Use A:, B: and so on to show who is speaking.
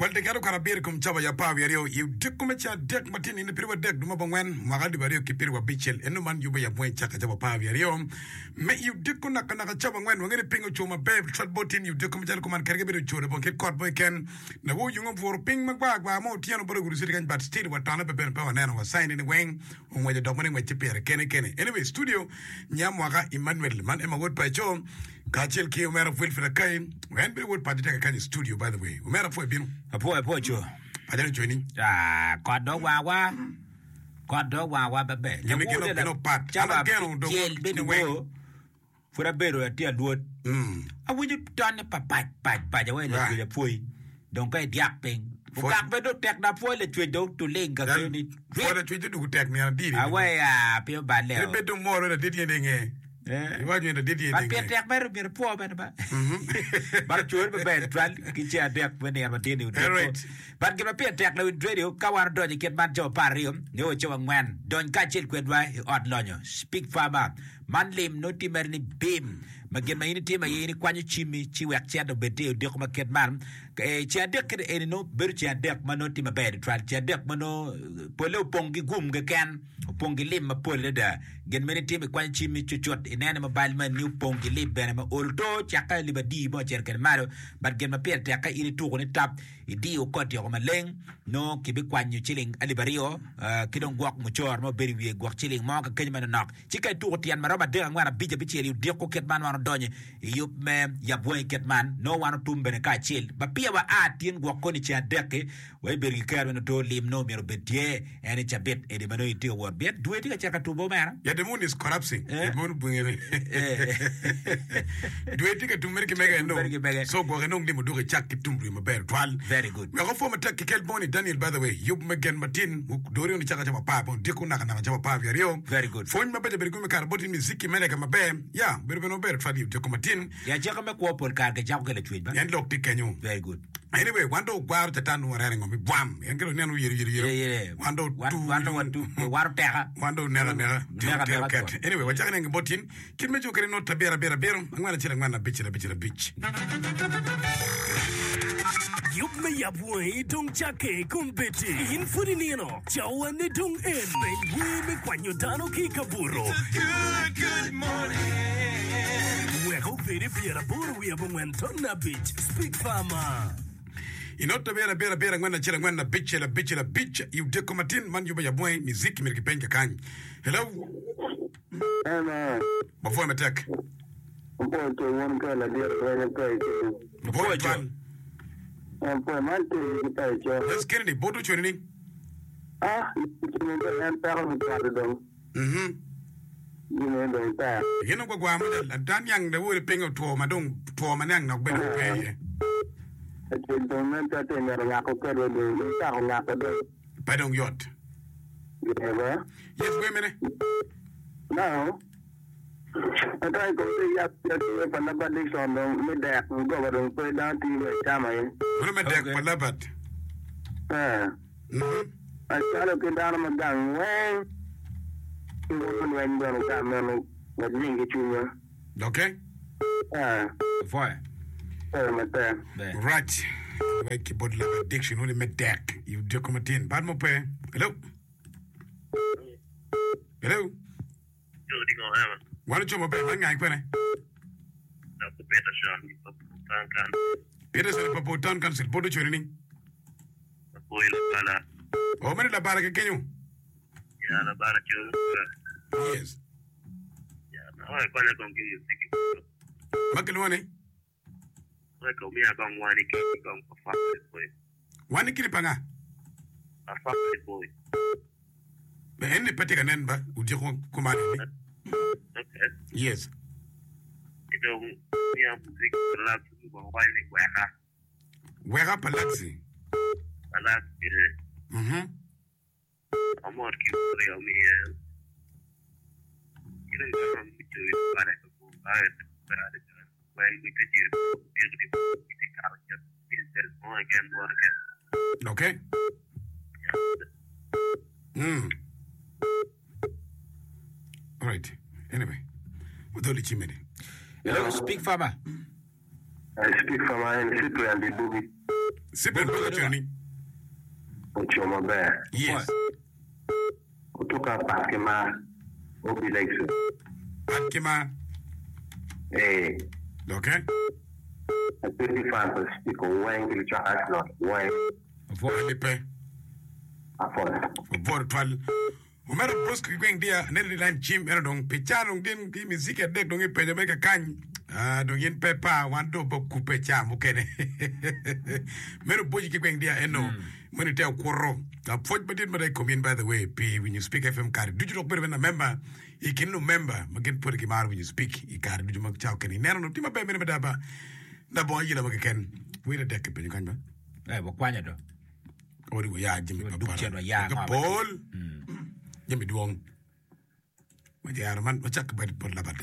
A: Well, tekero kare abiro i kom cawa ya 12 i odiko me ceng adek ma tye nino pyeraryo adek dwe me abongwen mwaka alip aryo ki pyeraryo abicel. Eno man yubbe ya bweng cake cawa 12 me i odiko naka naka cawa angwen. Wangeyo ni piny oco maber tutwal bot tin i odiko macalo kuman kadi ka bedo oco labongo kit kot mo keken. Lawo oyungo obwuro piny magwar gwar mo otyeno bot Ogudo City kany but still watone pe bene pe waneno wa sign ni weng ongweco dok mere ngwec tye pire kene kene. Anyway, studio nya mwaka Emmanuel man Emma wod paco kacel ki omera Wilfred Akai en bene wod paco tye kakany i studio by the way. Omera apwoyo bino.
B: Apwoyo apwoyo co.
A: Paco ni cweni.
B: Ah, kot dong wangwa. Kot dong wangwa maber.
A: Gin gin gin opat. An ageno dong
B: Cel
A: ni
B: bedo
A: weng.
B: bor. Pud abedo atye alwod, awinyo tonne pa pac pac pac awaci lacwec apwoyi dong ka idyak piny. Okak bene dong tek na apwoyi lacwec dong tuling ka kenyo ni
A: Pwoy lacwec dong dugu tek nino adiri.
B: Awaci aa piny oballe
A: o. Bed dong moro ladit tye inge. Iwaco ni ladit tye
B: But
A: inge.
B: pire tek mere myero ipwo bene ba. But ocweri maber tutwal ki ceng adek me nino matin ni odiko. But gin ma pire tek lawiny radio ka wan odonyo i kit man cawa 12 nio wa cawa angwen dony kacel kwedwa i ot lonyo Speak Farmer. Man lim nongo tye mere ni bim ma gin ma in itimo aye in ikwanyo cimmi ci wek cente obed tye i odiko ma kit man. Ceng adek kit eni nongo bedo ceng adek ma nongo tye maber tutwal, ceng adek ma nongo polle opong ki gum keken, opong ki lim mapol adada. Gin ma in itimo ikwanyo cimmi cucut ineno ni mobile money ni opong ki lim bene ma olo to cakke alip adi mo ocito kwede malo. But gin ma pire tek ka in ituko ni tap idiyo koti oko maleng nongo kibikwanyo ciling alip aryo ki dong gwok mucoro ma obedo i wiye gwok ciling mo ka kenyo manonok. Ci ka ituko tyen ma romo adek, angwen, abic, abicel i odiko kit man, wan odonyo i yub me yab wangi kit man, nongo wan otum bene kacel. Ma peya wa a tin gwok koni ceng adek-ki, wa ibedo ki kero me nongo lim nongo myero obed tye en i cabit eni ma nongo itye ka wot pien dwe tye ka cito ka tubo omera.
A: Yeah, the moon is collapsing.
B: Eh?
A: The moon bwinge. Dwe tye ka tum mere ki mege
B: Tum mere ki mege.
A: So gwok inong lim odok icak ki tum dwe maber twal.
B: Very good.
A: Wek opwo matek ki kel boni Daniel by the way, yub me gen matin dori oni caka cawa apar bene odiko naka naka cawa apar wiye aryo.
B: Very good.
A: Pwony mabeco bedo gumi kare boti miziki me lega maber. Ya, bedo bene maber twal i odiko matin.
B: I acakki me kwo pol kare kicako ki lacwec ba.
A: En lok tye kenyo.
B: Very good.
A: Anyway, wan dong ogwaro catan nongo wareno ngo mi bwam. En kelo neno yero yero yero.
B: Yeah, yeah.
A: Wan dong
B: Wan
A: tu.
B: wan dong watu waro teka.
A: Wan dong neka neka.
B: Neka neka
A: Ket. Anyway, wacako neno bot tin. Kit me cukere not abiro abiro abiro, angwen acel angwen abicel abicel abic.
C: Yub me yab wangi dong cakke kombeddi. In pud inino, cawane dong en. Peny wer me kwanyo dano ki i kabuto. Wek obed i pyeraboro wiye abongwen ton abic. Speak Farmer.
A: I not abiro abiro abiro angwen acel angwen abicel abicel abic i odiko matin man yubo yabwangi miziki myero kipeny kakany. Hello.
D: Amen.
A: Wapwoyo matek.
D: Wapwoyo to wun ka ladit lweny pa ico.
A: Wapwoyo twal.
D: Wapwoyo man tye ki pa ico.
A: Yes Kennedy, bot ocwene ni.
D: Ah, cwene to en peko me cwato dong.
A: Mhm.
D: Gine dong tek.
A: Gin ogwagwa mada ada niang lawore piny otwo ma dong two ma niang nok bene pe iye.
D: Acel dong nen calo tye mito ngako kedwa dong, dong cako ngako dong.
A: Pe dong yot.
D: Yeba.
A: Yes, wer mene?
D: Now, ento i kom tye yat me tye pa Labat Dixon dong me dek goba dong pe dano tiyo me acama ye.
A: Meno me dek
B: Okay.
A: pa Labat.
D: Eh,
A: Mhm.
D: acalo ki dano ma gang weng ki woko lweny bene ka meno wek jing ki cwinywa.
A: Okay.
D: Eh,
B: Pwoyo.
D: pwoyo matek.
B: Ber.
A: Rac. Wek ki bot Labat Dixon uli me dek i odiko matin. Bad mo pe. Hello. Hello. Wan oco maber. Man ngai kwene? Peterson i Papua Town Council. Bot ocweri ni? Oh, meno labara ki kenyo. Yes. Ma kilwongo ni? Wan ikiri pa nga? Be en ni pe tye ka nen ba odyeko kuman eni. Yes. Weka pa Laxi. Mhm. Okay. Mm. All right. Anyway, wadol i cimeni.
B: Hello, speak farmer.
D: I speak farmer en Cyprian Bibugi.
A: Cyprian Bosco ocoyo ni.
D: Oco maber.
A: Yes.
D: Otuka pat ki mar. Obi Legson.
A: Pat ki mar.
D: Ee.
A: Okay.
D: Atye ki fan pa Spiko weng ki lucwak Arsenal weng.
A: Apwoyo. Pe.
D: Apwoyo.
A: Wapwoyo twal. Omera Bosco ki gweng dia aneno ni line cim ento dong pi ca dong gin ki miziki adek dong ipenyo mere kakany ah, dong in pe pa wan dong pe okupe ca mukene meno boci ki gweng dia eno meno ite okuto apwoc madit mada i kom in by the way pi winyo Speak FM kare ducu dok bedo bene lamemba i kin lumemba ma gin pwod gimaro winyo Speak i kare ducu ma ca okene ineno dong tye maber meno mada ba labongo ayela mo keken wer adek kipenyo kany ba
B: Eh, wakwanyo do.
A: Odi wuya jami
B: Duk
A: papara.
B: cen waya
A: Ka
B: ngo
A: pol jami dwong. Wajero man wacak ki bad bot labati.